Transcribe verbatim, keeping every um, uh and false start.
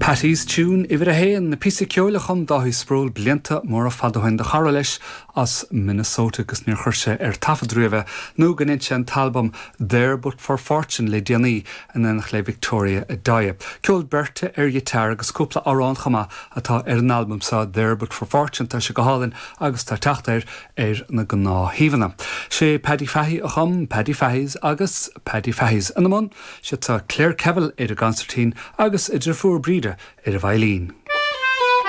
Paddy's Tune uimhir a haon na píosa ceoil a chum Dáithí Sproule blianta móra fada ó shin do chara leis as Minnesota agus níor chuir sé ar taifead riamh nó go ndein sé an t-albam There But for Fortune le déanaí in éineacht le Victoria Daya. Ceol beirte ar ghiotár agus cúpla amhrán chomh maith atá ar an albam seo There But for Fortune tá sé go hálainn agus tá teacht air ar na gnáthshuíomhanna. Sé Paddy Fahey a chum Paddy Fahey's agus Paddy Fahey's ina mbun, sé tá Claire Kevill ar an gconsairtín agus a deirfiúr Breda ar an veidhlín.